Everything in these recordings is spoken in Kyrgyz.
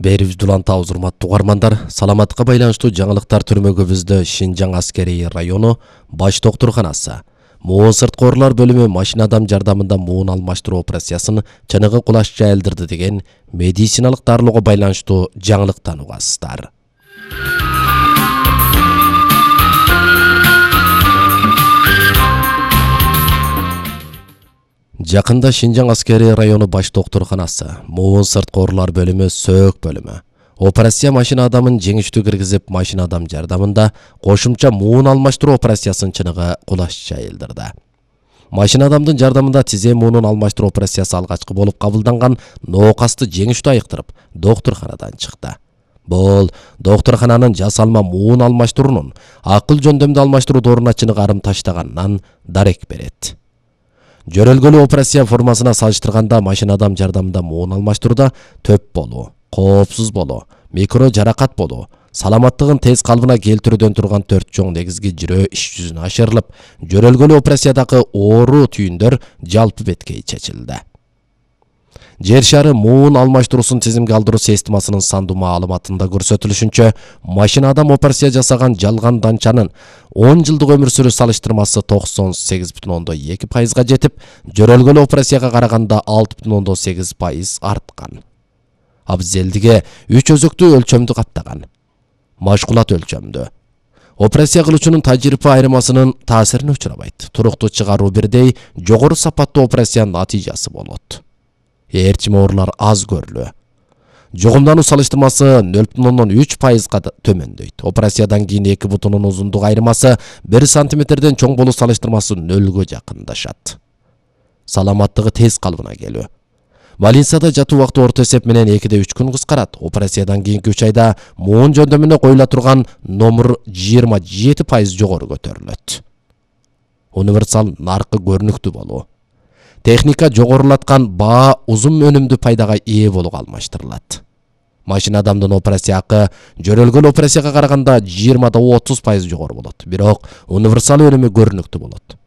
Берибизди улантабыз, урматтуу угармандар. Саламатка байланыштуу жаңылыктар түрмөгүбүздө Шинжаң аскерий району баш доктурканасы муун сырткоорлор бөлүмү машина адам жардамында муун алмаштыруу операциясын чыныгы кулаш жайылдырды деген медициналык дарылоого байланыштуу жаңылыктан угасыздар. Жакында Шинжаң аскерий району баш доктурканасы муун сырткоорлор бөлүмү сөөк бөлүмү операция машина адамын жеңиштүү киргизип, машина адам жардамында кошумча муун алмаштыруу операциясын чыныгы кулаш жайылдырды. Машина адамдын жардамында тизе муунун алмаштыруу операциясы алгачкы болуп кабылданган ноокасты жеңиштүү айыктырып, доктурканадан чыкты. Бул доктуркананын жасалма муун алмаштыруунун акыл жөндөмдүү алмаштыруу дооруна чыныгы арым таштаганынан дарек берет. Жөрөлгөлүү операция формасына салыштырганда машина адам жардамында муун алмаштырууда төп болуу, коопсуз болуу, микро жаракат болуу, саламаттыгын тез калыбына келтирүүдөн турган 4 чоң негизги жирөө иш жүзүнө ашырылып, жөрөлгөлүү операциядагы оору түйүндөр жалпы беткей чечилди. Жер шары муун алмаштыруусун тизимге алдыруу системасынын сандуу маалыматында көрсөтүлүшүнчө, машина адам операция жасаган жалган данчанын 10 жылдык өмүр сүрүү салыштырмасы 98,2%га жетип, жөрөлгөлүү операцияга караганда 6,8% арткан. Абзелдиге 3 өзөктүү өлчөмдү каптаган. Машкулат өлчөмдү. Операция кылуучунун тажрыйба айырмасынын таасирине учурабайт. Туруктуу чыгаруу бирдей жогору сапаттуу операциянын натыйжасы болот. Ээрчим оорулар аз көрүлүү. Жогумдануу салыштырмасы 0,3%га төмөндөйт. Операциядан кийин 2 бутунун узундук айырмасы 1 сантиметрден чоң болуу салыштырмасы 0-гө жакындашат. Саламаттыгы тез калыбына келүү. Больницада жатуу убакыты орто эсеп менен 2-3 күн кыскарат. Операциядан кийинки 3 айда муун жөндөмүнө коюла турган номер 27% жогору көтөрүлөт. Универсал наркы көрүнүктүү болуу. Техника жогорулаткан баа узун өнүмдүү пайдага ээ болууга алмаштырылат. Машина адамдын операция акы жөрөлгөлүү операцияга караганда 20-30% жогору болот. Бирок универсал өнүмү көрүнүктүү болот.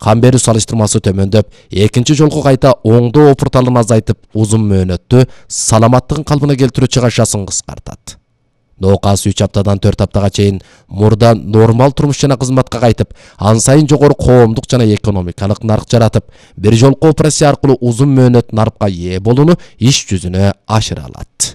Кан берүү салыштырмасы төмөндөп, экинчи жолку кайта оңдоо опурталын азайтып, узун мөөнөттүү саламаттыгын калыбына келтирүү чыгашасын кыскартат. Ноокас 3 аптадан 4 аптага чейин мурда нормал турмуш жана кызматка кайтып, ан сайын жогору коомдук жана экономикалык нарк жаратып, бир жолку операция аркылуу узун мөөнөт нарпка ээ болууну иш жүзүнө ашыра алат.